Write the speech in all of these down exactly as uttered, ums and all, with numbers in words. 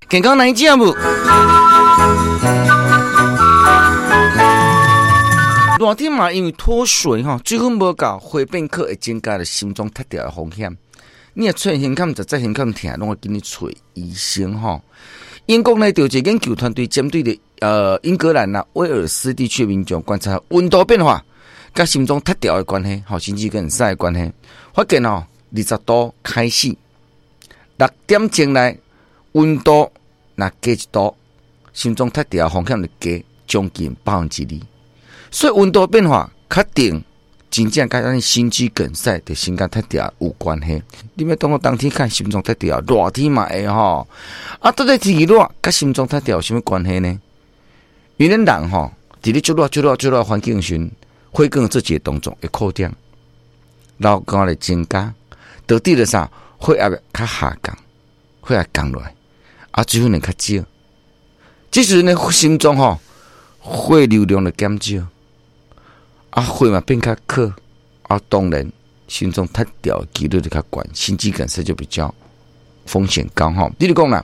健康來食無？熱天嘛，因為脫水吼，水分無夠，血變渴會增加著心臟脫掉的風險。你若出現胸坎，實在胸坎疼，攏愛緊去揣醫生吼。英國呢，就一個研究團隊針對著呃英格蘭啊威爾斯地區的民眾觀察溫度變化，佮心臟脫掉的關係，吼，心肌梗塞的關係，發現哦，二十度開始，六點鐘內溫度若加一度，心臟脫掉風險就加將近百分之二。所以溫度變化確定真正佮咱心肌梗塞的心臟脫掉有關係。你欲當講冬天較心臟脫掉，熱天嘛會吼。啊，到底天氣熱佮心臟脫掉有啥物關係呢？因為咱人吼，佇咧足熱、足熱、足熱環境時，血管做一個動作會擴張，然後肝會增加，導致著啥？血壓較下降，血壓降落來，啊，水分會較少。這時呢，心臟吼血流量就減少。啊，血嘛變較渴，啊，當然心臟脫掉的幾率就較懸，心肌梗塞就比較風險高吼。比如講啦，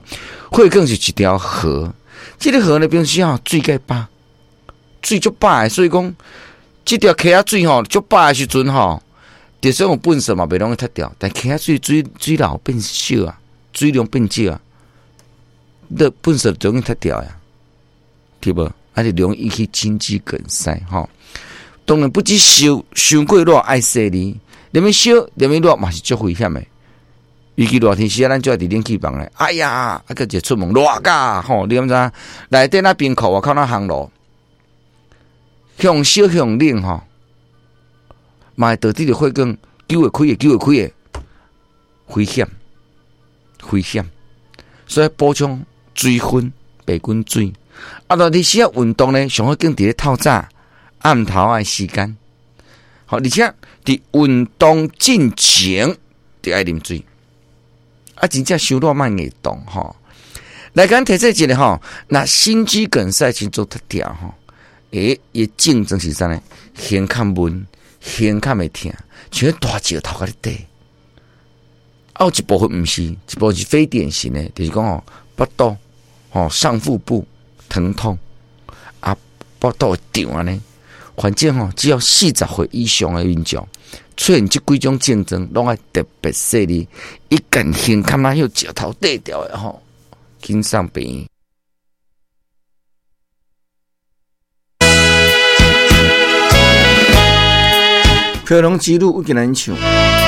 血管是一條河，這個河呢，平時吼水較飽，水足飽的，所以講這條溪仔水吼足飽的時陣吼，就算有糞埽嘛，袂容易脫掉。但溪仔水水水流變少啊，水量變少啊，你糞埽就容易脫掉呀，對無？啊，就容易引起心肌梗塞吼。當然不止燒，傷過熱愛細膩，連物燒，連物熱嘛是足危險的。尤其熱天時啊，咱就愛佇冷氣房咧。哎呀，啊，閣一出門熱甲吼，你敢知？內底那冰庫外口那烘爐，向燒向冷吼，嘛會導致著血管救會開的，救會開的危險，危險。所以補充水分、白滾水。啊，熱天時啊運動呢，上好揀佇咧透早、暗頭仔的時間。好，而且佇運動進前就愛啉水。啊，真正傷熱莫硬動吼。來，咱提醒一下吼，若心肌梗塞心臟脫掉吼，欸，伊症狀是啥呢？胸坎悶，胸坎會疼，像大石頭共你綴。啊，有一部分毋是，一部分是非典型的，就是講吼，腹肚吼上腹部疼痛，啊，腹肚會脹按呢。反正吼，只要四十歲以上的民眾出現這幾種症狀，攏愛特別細膩，一旦胸坎仔有石頭綴著的吼，緊送病院。飄浪之旅，我今日唱。